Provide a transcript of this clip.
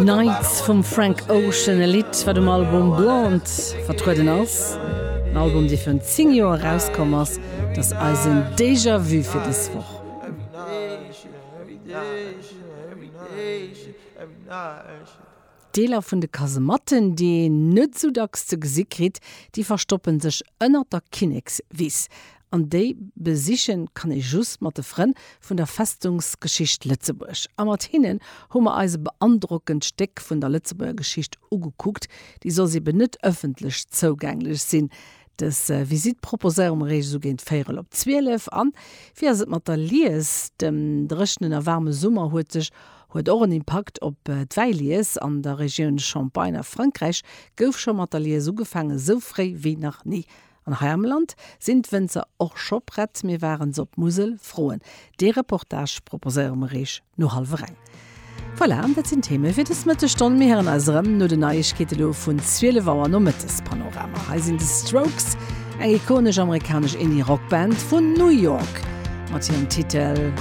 Nights vum Frank Ocean, e Lidd, wat um Album Blonde vertrueden ass. En Album, dee virun 10 Joer erauskomm ass. Dat ass eisen Déjà-vu fir dës Woch. Deeler vun de Kasematten, déi een net esou dacks ze gesi kritt, déi verstoppe sech ënnert der Kinnekswiss. An déi besiche kann ee just mat de Frënn vun der Festungsgeschicht Lëtzebuerg. A mat hinnen hu mer eis e beandrockend Stéck vun der Lëtzebuerger Geschicht ugekuckt, déi soss eben net ëffentlech zougänglech sinn. Dës Visitt proposéiere mer iech esou géint véierel op 12. An wéi ass et mat der Lies? Dem dréchenen a waarme Summer huet sech huet och en Impakt op d'Wäilies. An der Regioun Champagne a Frankräich gouf scho mat der Lies ugefaangen, esou fréi wéi nach ni. An hei am Land sinn d'Wënzer och scho prett. Mir waren se op d'Musel froen. Dee Reportage proposéiere mer iech no hallwer eng. Voilà, dat sinn d'Theme fir dës Mëttesstonn. Mir héieren eis erëm no den Neiegkeete lo vun 12 Auer. Nomëttes Panorama. Hei sinn The Strokes, eng ikonesch amerikanesch Indie-Rock-Band vun New York, mat hirem Titel.